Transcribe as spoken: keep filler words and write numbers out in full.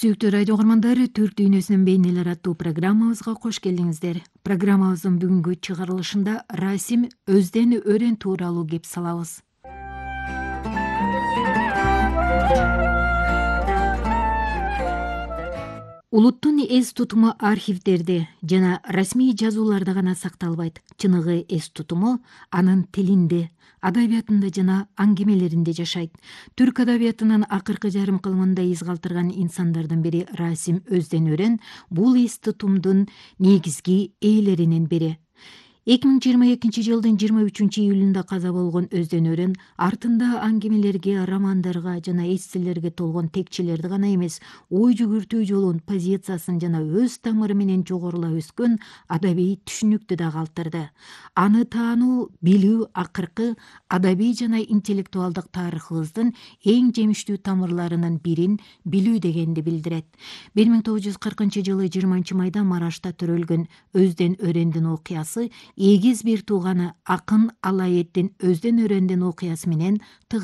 Сүйүктүү радио угармандары, Түрк дүйнөсүнүн бейнелери аттуу программабызга кош келиңиздер. Программабыздын бүгүнкү чыгарылышында Расим Өзден өрен тууралуу кеп салабыз. Улуттун эс тутуму архивдерде жана расмий жазууларда гана сакталбайт. Чыныгы эс тутуму анын тилинде, адабиятында жана аңгемелеринде жашайт. Түрк адабиятынын акыркы жарым кылымында из калтырган инсандардын бири Расим Өзден өрен бул эс тутумдун негизги ээлеринин бири. эки миң жыйырма экинчи жылдын жыйырма үчүнчү июлунда каза болгон Өзден өрен артында аңгемелерге, романдарга жана эсселерге толгон текчелерди гана эмес, ой жүгүртүү жолун, позициясын жана өз тамыры менен жогорулап өскөн адабий түшүнүктү да калтырды. Аны таануу, билүү акыркы адабий жана интеллектуалдык тарыхыбыздын эң жемиштүү тамырларынын бирин билүү дегенди билдирет. бир миң тогуз жүз кыркынчы жылы жыйырманчы майда Марашта төрөлгөн Өзден өрендин окуясы эгиз бир тууганы акын Алаэддин Өзден өрендин окуясы менен тыгыз